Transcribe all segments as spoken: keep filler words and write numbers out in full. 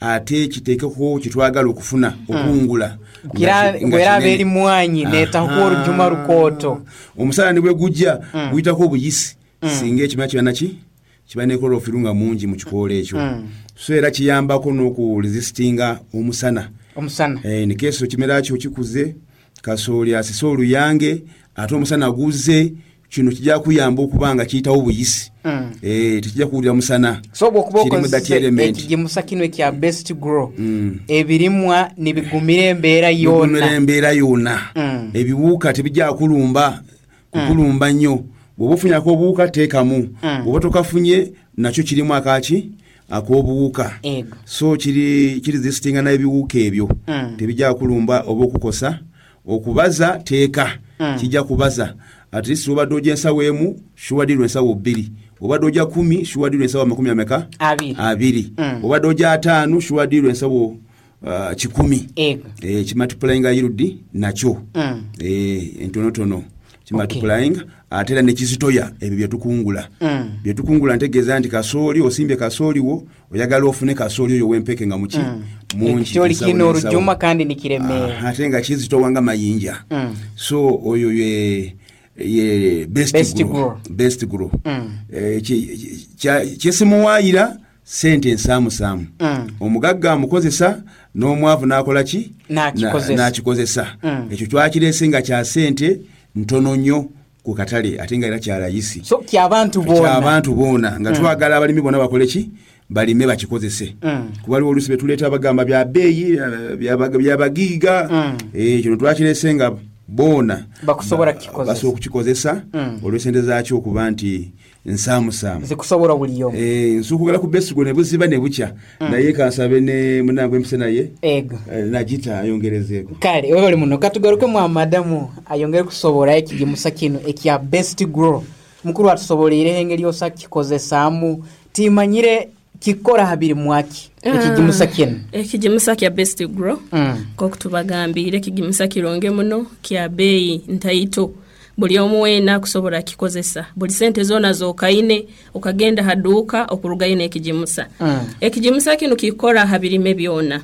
Ate kiteekeko kyetwagala okufuna, okungula. Kira bweraba eri mwanyi netaho orujuma rukooto. Omusana ne bwe gujja, guyitako obuyisi, singa ekimera kiba naki kiba ne chlorophyll nga mungi mu kikoola ekyo. So era kiyambako n'okuresistinga omusana. Omusana. Eh, nikeeso ekimera kyo kikuze, kasooli asise oluyange, ate omusana guzze, kino kijja kuyamba okuba nga kiyitawo buyisi. Mm. Eh, tekijja kuwulira musana. So bwokuba Kirimu that okozesa element. ekigimusa kino ekya Best Grow, Mm. ebirimwa nibigumira embeera bigumira yona. Embeera yonna. Mm. Ebiwuka tebijja kulumba kukulumba nnyo. Bw'oba ofunyako obuwuka, teekamu. Mm. Bw'oba tokafunye, nakyo kirimu akaki ak'obuwuka. Ego. So kiri kiresistinga n'ebiwuka ebyo. Mm. Tebijja kulumba oba okukosa. Okubaza, teeka. Mm. Kijja kubaza. At least obadde ojja ensawo emu, shuwadirwa ensawo bbiri. Obadde ojja kumi, shuwadirwa ensawo amakumi ameka? Abiri. Abiri. Mm. Obadde ojja ataano, shuwadirwa ensawo uh, kikumi. Ego. Eh, kimultiplyinga yield nakyo. Mm. Eh, entonotono kimultiplying, ate era nekizitoya ebyo byetukungula. Mm. Byetukungula ntegeeza nti kasooli, osimbye kasooli wo, oyagala ofune kasooli oyo w'empeke nga muki? Mungi. Ekikyoli ensawo kino n'ensawo. Orujuma kandi nikiremeera. Ah, ate nga kizitowa nga mayinja. Mm. So oyo ye ye Best, Best Grow. Grow. Best Grow. Mm. Eh, ki- kya- kyesimuwaayira sente ensaamusaamu. Mm. Omugagga amukozesa, n'omwavu n'akola ki? N'akikozesa. Na- n'akikozesa. Mm. Ekyo twakirese nga kya sente ntono nnyo ku katale, ate nga era kyalayisi. So kyabantu boona. Kyabantu boona, nga twagala abalimi bonna bakole ki? Balime, bakikozese. Mm. Kuba waliwo oluusi betuleeta bagamba bya bbeeyi, eh, bya- byabagiiga. Mm. Eh, kino twakirese nga boona Bakusobola ba- kukikozesa. Basobola okukikozesa Mm. olw'esente zaakyo okuba nti nsaamusaamu. Zikusobola buli omu. Eh, nsuukugala ku Best Grow ne buziba ne bukya, naye kansabe ne munange empise naye. Ego. eh, nagita ayongerezeeko. Kale webale muno. Katugaruke mwa madamu ayongere kusobola ekigimusa kino ekya Best Grow. Mukuru atusoboleireho engeri yosa kikozesaamu. Timanyire kikora habiri mwaki ekigimusa kino? Ekigimusa kya Best Grow, Mm. nkoku tubagambire, ekigimusa kironge muno, kya beeyi ntaito, buli omu weena akusobola kikozesa. Buli sente zoona zokaine, okagenda haduuka okurugayo n'ekigimusa. Mm. Ekigimusa kino kikora ha birime byona.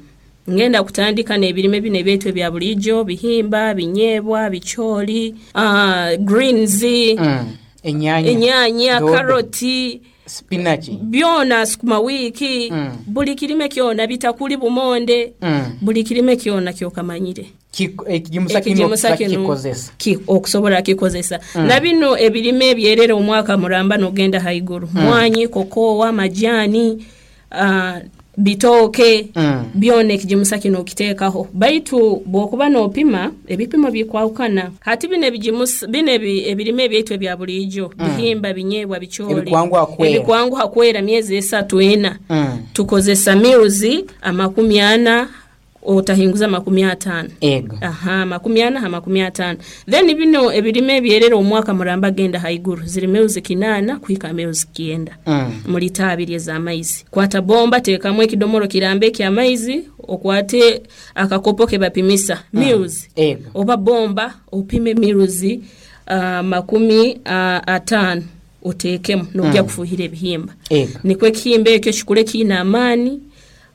Ngenda kutandika n'ebirime bino ebyaitu ebya bulijjo: bihimba, binyeebwa, bikyoli, uh, greens, Mm. Enyanya. Enyanya, Dodo. karoti, Spinach. Byona, sukuma wiiki. Mm. Buli kirime kyona, bitakuli, bumonde, Mm. buli kirime kyona kyokamanyire. Kik- ekigimusa kino Ekigimusa okusobola kino kikozesa. ki- okusobola kikozesa. Na bino ebirime ebyerera omwaka muramba nogenda haiguru, mwanyi, kokowa, majani, uh, bitooke, Mm. byona ekigimusa kino okiteekaho. Baitu bw'okuba n'opima, ebipimo bikwawukana. Hati bino ebigimusa bino ebi- ebirime ebyaitu ebya bulijjo, bihimba, binyeebwa, bikyoli, Ebikwanguha kwera. Ebikwanguha kwera myezi esatu, ena, Mm. tukozesa mils amakumi ana otahinguza makumi ataano. Ego. Aha, makumi ana ha makumi ataano. Then bino ebirime ebyerera omwaka muramba genda haiguru, ziri mils kinaana kuhika mils kyenda Mm. mu lita abiri ez'amaizi. Kwata bomba, teekamu ekidomolo kiramba eky'amaizi, okwate akakopo ke bapimisa mils, Ego. oba bomba, opime mils uh, makumi uh, ataano, oteekemu nojja kufuuhira ebihimba. Ego. Nikwo ekihimba ekyo kikule kiine amaani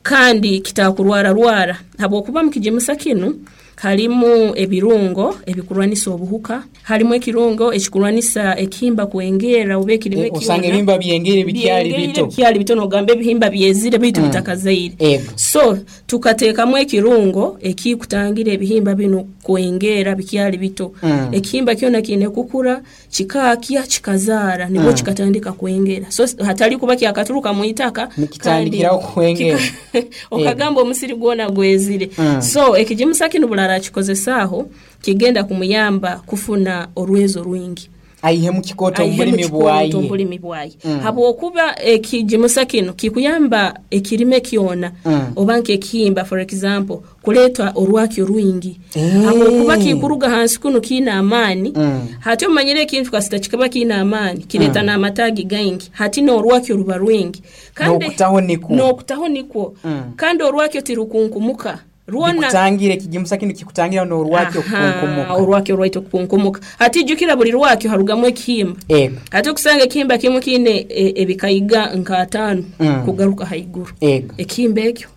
kandi kitakurwararwara, habwokuba mu kigimusa kinu harimu ebirungo ebikurwanisa obuhuka, harimu ekirungo ekikurwanisa ekihimba kwengera oba ekirime. Eh, osanga ebihimba byengere bikyali Byengere bito. Bikyali bito, nogamba ebihimba byezire bitu bitakazaire. Ego. So tukateekamu ekirungo ekikutangira ebihimba bino kwengera bikyali bito. Mm. Ekihimba kyona kiine kukura, kikaakya, kikazaara, nibwo kikatandika kwengera. So hatali kuba kyakaturuka mu itaka Nikitandikiraho kandi kwengera. kika- okagamba omusiri gwona gwezire. Mm. So ekigimusa kino bulala akikozesaaho, kigenda kumuyamba kufuna orwezo rwingi. Aihe mu kikooto Aihe mu omulimi kikooto bwaye. omulimi bwaye, habwokuba ekigimusa kino kikuyamba ekirime kyona, Mm. oba nk'ekihimba for example, kuleeta orwakyo rwingi, Eh. habwokuba kikuruga hansi kuno kiine amaani. Mm. Hati omanyire ekintu kasita kikaba kiine amaani, kireeta n'amataagi gaingi, hati n'orwakyo ruba rwingi. N'okutaho nikwo. N'okutaho nikwo. Mm. Kandi orwakyo tirukunkumuka rwona. Bikutangira, ekigimusa kino kikutangira n'orwakyo Aha, okukunkumuka. Orwakyo rwaitu okukunkumuka. Hati jjukira buli rwakyo harugamu ekihimba. Ego. Ate okusanga ekihimba kimu kiine e, ebikayiga nka ataano Mm. kugaruka haiguru. Ego. Ekihimba ekyo.